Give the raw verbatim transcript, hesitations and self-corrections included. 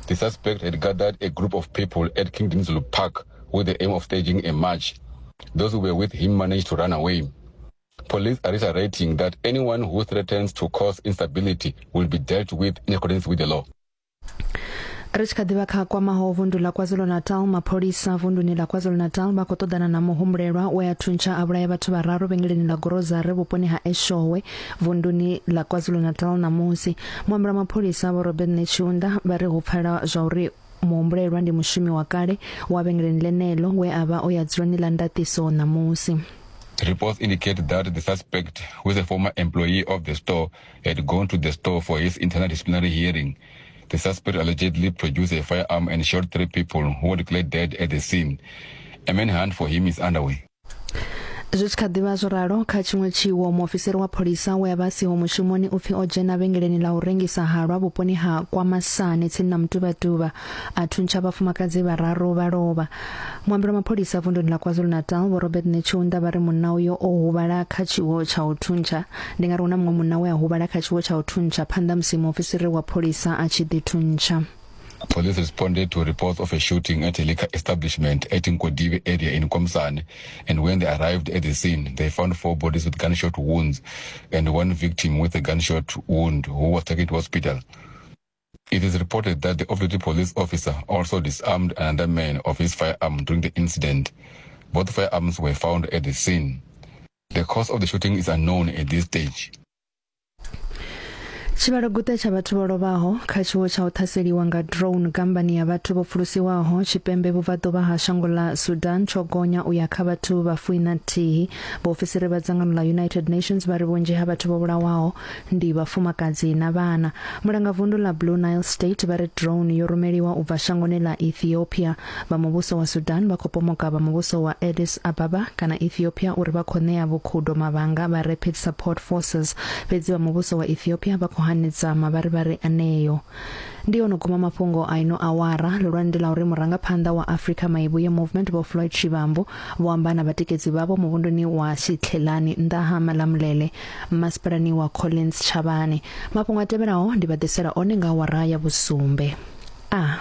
The suspect had gathered a group of people at King Dinuzulu Park with the aim of staging a march. Those who were with him managed to run away. Police are reiterating that anyone who threatens to cause instability will be dealt with in accordance with the law. Ri tshi kha ḓivha kha kwamaho vundu ḽa KwaZulu-Natal, mapholisa vunduni ḽa KwaZulu-Natal vha khou ṱoḓana na muhumbulelwa we a thuntsha a vhulaya vhathu vhararu vhengeleni ḽa Gorozare vhuponi ha Eshowe vunduni ḽa KwaZulu-Natal ṋamusi. Muambeli wa mapholisa Vho Robert Netshiunda vha ri hu pfala zwa uri muhumbulelwa ndi mushumi wa kale wa vhengeleni ḽeneḽo we a vha o ya dzuloni ḽa ndaṱiso ṋamusi. Reports indicate that the suspect, who is a former employee of the store, had gone to the store for his internal disciplinary hearing. The suspect allegedly produced a firearm and shot three people who were declared dead at the scene. A manhunt for him is underway. Zwi tshi kha ḓivha zwo ralo, kha tshiṅwe tshiwo muofisiri wa pholisa we a vha siho mushumoni u pfi o dzhena vhengeleni ḽa u rengisa halwa vhuponi ha Kwamasane tsini na Mtubatuba a thuntsha vhafumakadzi vhararu vha lovha. Muambeli wa mapholisa vunduni ḽa KwaZulu-Natal Vho Robert Netshiunda vha ri munna uyo o huvhala kha tshiwo tsha u thuntsha. Ndi nga ri hu na muṅwe munna we a huvhala kha tshiwo tsha u thuntsha phanḓa musi muofisiri wa pholisa a tshi ḓi thuntsha. Police responded to reports of a shooting at a liquor establishment at Nkodibe area in Komsane, and when they arrived at the scene, they found four bodies with gunshot wounds and one victim with a gunshot wound who was taken to hospital. It is reported that the off-duty police officer also disarmed another man of his firearm during the incident. Both firearms were found at the scene. The cause of the shooting is unknown at this stage. Tshivhalo guṱe tsha vhathu vho lovhaho kha tshiwo tsha u ṱhaseliwa nga drone gambani ya vhathu vho pfulusiwaho tshipembe vhubvaḓuvha ha shango ḽa Sudan tsho gonya u ya kha vhathu vha fuiṋa nthihi. Vhaofisiri vha dzangano ḽa United Nations vha ri vhunzhi ha vhathu vho vhulawaho ndi vhafumakadzi na vhana. Mulangavundu ḽa Blue Nile State vha ri drone yo rumeliwa u bva shangoni ḽa Ethiopia. Vha muvhuso wa Sudan vha khou pomoka vha muvhuso wa Addis Ababa kana Ethiopia uri vha khou ṋea vhukhudo mavhanga vha Rapid Support Forces, fhedzi vha muvhuso wa Ethiopia vha khou hanedza mavharivhari aneyo. Ndi ono guma mafhungo a ino awara. Lulwane ndi ḽa uri murangaphanḓa wa Afrika Maivhuye Movement Vho Floyd Shivambu vho amba na vhatikedzi vhavho muvhunduni wa Shitlhelani nnḓa ha Malamulele masipalani wa Collins Chabane. Mafhungo a tevhelaho ndi vha ḓisela one nga awara ya vhusumbe. A